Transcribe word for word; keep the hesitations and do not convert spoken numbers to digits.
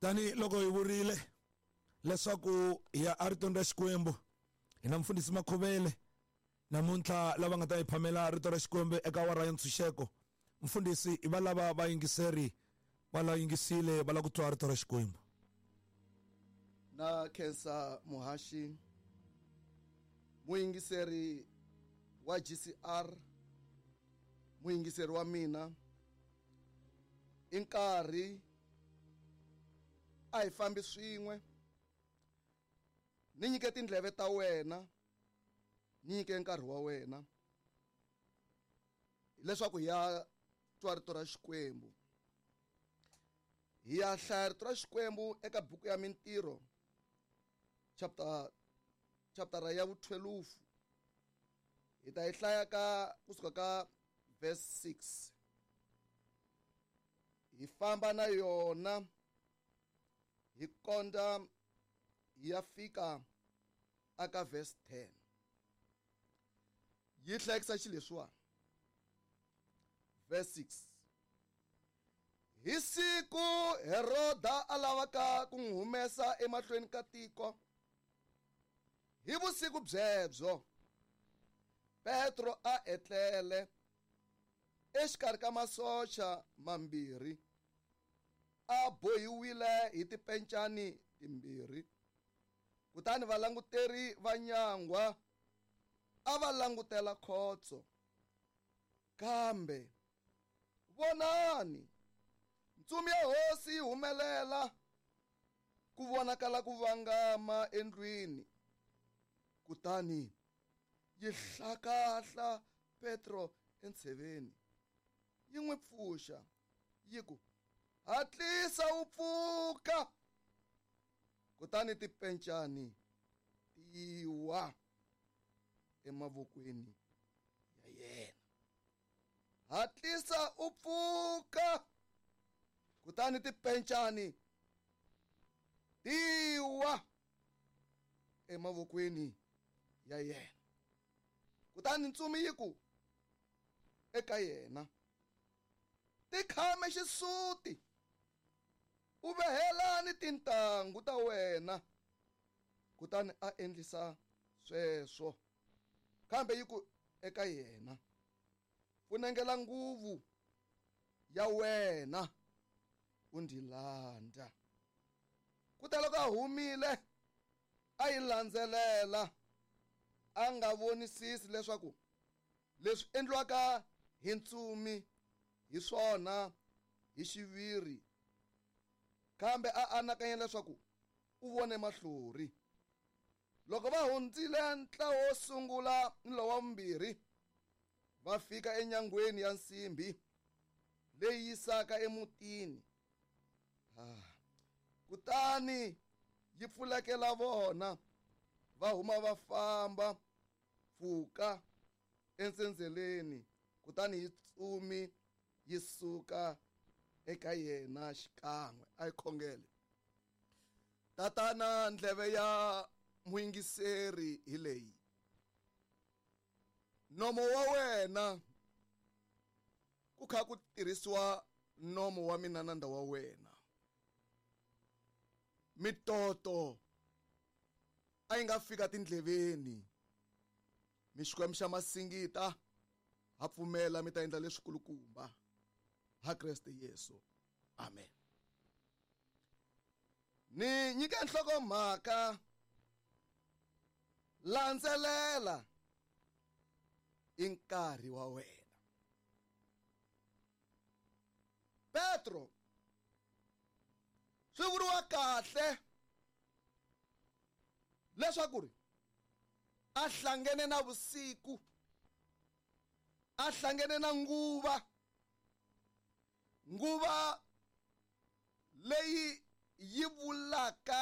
Tani loko hi vurile leswaku hi ya eritweni ra Xikwembu, hi na mfundhisi Makhuvele namuntlha lava nga ta hi phamela rito ra Xikwembu eka awara ya ntshunxeko. Mfundhisi, i va lava vayingiseri va la yingisile va lava ku twa rito ra Xikwembu. Na khensa muhaxi, muyingiseri wa G C R, muyingiseri wa mina, i nkarhi a hi fambi swin'we. Ni nyike tindleve ta wena, ni nyike nkarhi wa wena leswaku hi ya twa rito ra Xikwembu. Hi ya hlaya rito ra Xikwembu eka buku ya Mintirho, chapter, chapter ya vutwelufu. Hi ta yi hlaya ka kusuka ka verse six. Hi famba na yona hi konda hi ya fika aka verse ten. Yi hlayekisa xileswiwani. Verse six. Hi siku Heroda a lavaka ku n'wi humesa emahlweni ka tiko, hi vusiku byebyo Petro a etlele exikarhi ka masocha mambirhi, a bohiwile hi tipencani timbirhi. Kutani valanguteri va nyangwa a va langutela khotso. Kambe vonani, ntsumi ya hosi yi humelela, ku vonakala ku vangama endlwini, kutani yi hlakahla Petro entsheveni, yi n'wi pfuxa, yi ku, hatlisa u pfuka. Kutani tipencani ti wa emavokweni ya yena. Hatlisa u pfuka. Kutani tipencani ti wa emavokweni ya yena. Kutani ntsumi yi ku eka yena, tikhame xisuti, u vehelani tintangu ta wena. Kutani a endlisa sweswo. Kambe yi ku eka yena, funengela nguvu ya wena u ndzi landza. Kuteloko a humile a yi landzelela, a nga vonisisi leswaku leswi endliwaka hi ntsumi hi swona hi xiviri, kambe a anakanya leswaku u vone mahlori. Loko va hundzile ntlawa wo sungula ni lowa vumbirhi, va fika enyangweni ya nsimbhi leyi yisaka emutini. Ah. Kutani yi pfulekela vona, va huma va famba pfuka entsendzeleni, kutani yi tsumi yi suka eka yena xikan'we. A yi khongele. Tatana, ndleve ya muyingiseri hi leyi. Nomo wa wena ku kha ku tirhisiwa nomo wa mina nanda wa wena. Mitoto a yi nga fika tindleveni. Mi Xikwembu xa masingita, ha pfumela mi ta endla leswikulukumba ha Kreste Yesu. Amen. Ni nyika nhlokomhaka, landzelela i nkarhi wa wena. Petro swi vuriwa kahle leswaku ri a hlangene na vusiku, a hlangene na nguva, nguva leyi yi vulaka